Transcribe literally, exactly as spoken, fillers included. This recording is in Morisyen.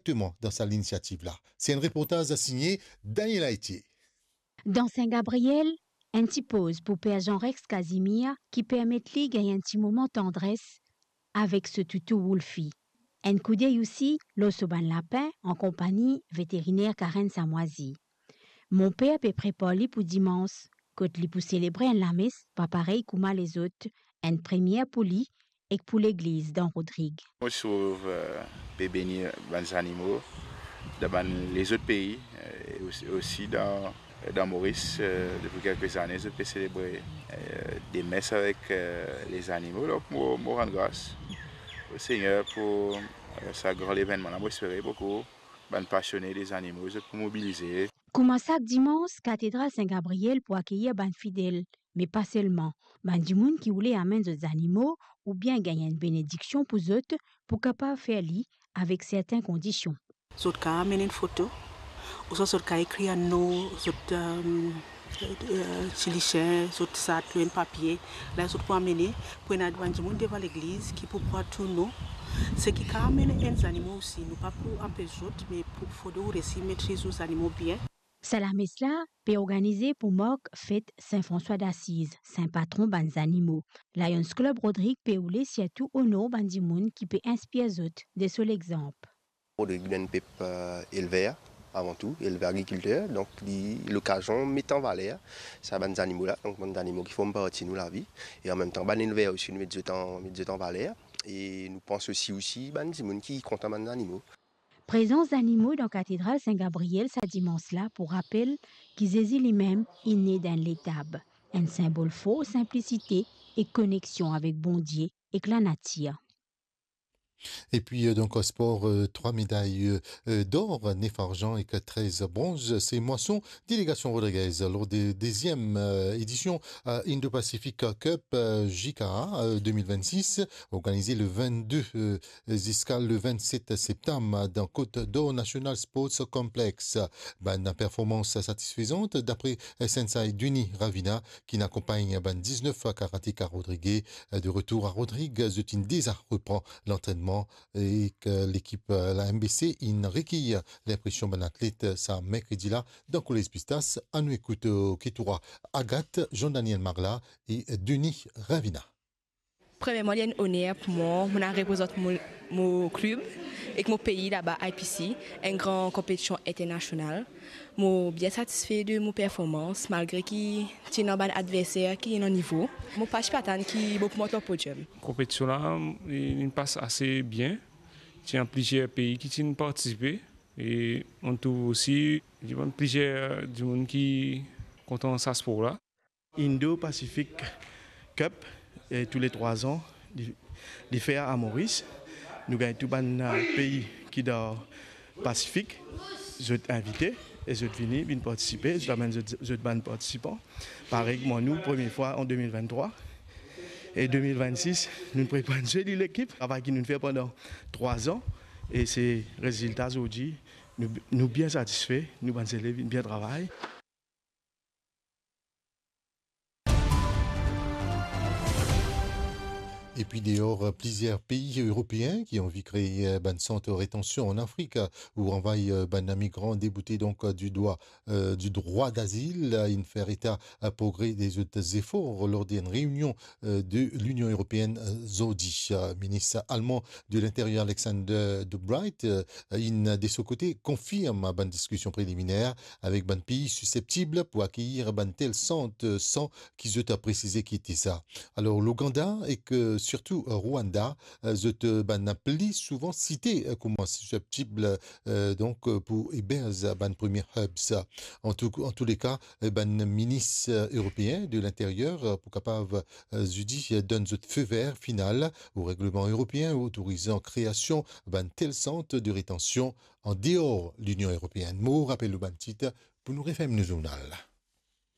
Directement dan sa linisiativ la. Se enn reportaz signe Daniel Aitier. Dan Sin Gabriel, enn ti poz pou Per Jean Rex Casimir ki permet li gagn enn ti moman tandres avek so toutou Wolfie. Enn koudey osi lor so bann lapin an konpagni veteriner Karen Samwazi. Monper pe prepar li pou dimans, kot li pou selebre enn lames pa parey kouma lezot, enn premie pou li ek pou legliz dan Rodrig. Mo trouv, eh, pe beni bann zanimo dan bann lezot pei, eh, e osi, osi dan, dan Moris, eh, depi kelke zane, zot pe selebre, eh, de mes avek, eh, lezanimo. Donk, mo, mo rann gras o Segner pou, eh, sa gran levennman la. Mo espere boukou bann pasione de zanimo, zot pou mobilize. Kouma sak dimans, Katedral Sin Gabriel pou akeyir bann fidel, me pa selman, bann dimoun ki oule amenn zot zanimo oubien gagn enn benediksion pou zot, pou kapav fer li avek sertin kondision. Zot kapav amenn enn foto, ouswa zot kapav ekrir enn nom, zot, eh, eh, ti lisien, zot sat lor enn papie, la zot pou amene, pou ena bann dimoun devan legliz ki pou pran tou nom. Seki kapav amenn enn zanimo osi, nou pa pou anpes zot, me pou fode ou resi metriz ou zanimo bien. Sa lames la pe organize pou mark fet Sin Franswa Dasiz, sin patron bann zanimo. Lions Club Rodrig pe oule sirtou onor bann dimoun ki pe inspir zot de so lexanp. Rodrig, nou enn pep, eh, elver, avan tou, elver agrikilter, donk li lokazion met an valer sa bann zanimo la, donk bann zanimo ki form parti nou lavi, e anmemtan bann elver osi, nou met zot an, met zot an valer, e nou panse osi, osi bann dimoun ki kontan bann zanimo. Prezans zanimo dan Katedral Sin Gabriel sa dimans la pou rapel ki Zezi limem inn ne dan enn letab, enn sinbol for sinplisite e koneksion avek Bondie ek lanatir. Epi, eh, donk, spor, eh, trwa meday, eh, eh, dor, nef arzan ek trez bronz. Se Mwason Delegasion Rodriguez lor de deziem, eh, edision, eh, Indo-Pacific Cup, eh, J K A, eh, de mil vennsis, organize le vennde, eh, ziska le vennset septam dan Côte d'Or National Sports Complex. Bann performans satisfezan, dapre sensei Duni Ravina, ki'nn akonpagn bann diznef karateka rodrige. De retour a Rodrig, zot inn deza repran lantrennman ek lekip la M B C inn rekeyir linpresion bann atlet sa merkredi la dan Kolez Pistas. Annou ekout, eh, ki tour Agathe, Jean-Daniel Marla e Duni Ravina. Premierman, li enn oner pou mwa, mo inn al reprezant mo, mo klib ek mo pei laba I P C, enn gran konpetision internasional. Mo bien satisfe de mo performans, malgre ki ti ena bann adverser ki ena nivo. Mo pa ti pe atann ki mo pou mont lor podiom. Konpetision la, li, li pas ase bien. Ti ena plizier pei ki ti partisipe e mo trouv osi ti ena plizier dimoun ki kontan sa spor la. Indo-Pacific Cup, eh, toule trwa zan, li, li fer a Moris. Nou gagn tou bann, eh, pei ki dan Pasifik, zot invite e zot vini, vinn partisipe, zot amenn zot, zot bann partisipan. Parey kouma nou, premie fwa an de mil venntrwa. E de mil vennsis, nou prepar enn zoli lekip. Travay ki nou fer pandan trwa zan, e se rezilta zordi, nou, nou bien satisfe, nou bann zelev inn bien travay. Epi deor, plizier pei eropeen ki anvi kree bann sant retansion an Afrik, ou anvway bann migran deboute donk di dwa, eh, di drwa dazil, inn fer eta progre de zot zefor lor de enn reinion, eh, de Linion Eropeenn, eh, zordi. Eh, minis alman de Linterier Alexander De Bryt, eh, inn de so kote konfirm bann diskision preliminer avek bann pei siseptib pou akeyir bann tel sant, eh, san ki zot presize ki ete sa. Alor, Louganda ek, eh, sirtou, eh, Rwanda, eh, zot, eh, bann pli souvan site, eh, kouma siseptib, eh, donk, eh, pou eberz bann premie hubs. An tou, an tou le ka, eh, bann minis, eh, eropeen de Linterier, eh, pou kapav, eh, zodi, eh, donn zot fe ver final o regleman eropeen otorizan kreasion bann tel sant de retansion an deor Linion Eropeenn. Mo rapel nou bann tit pou nou referm nou zournal.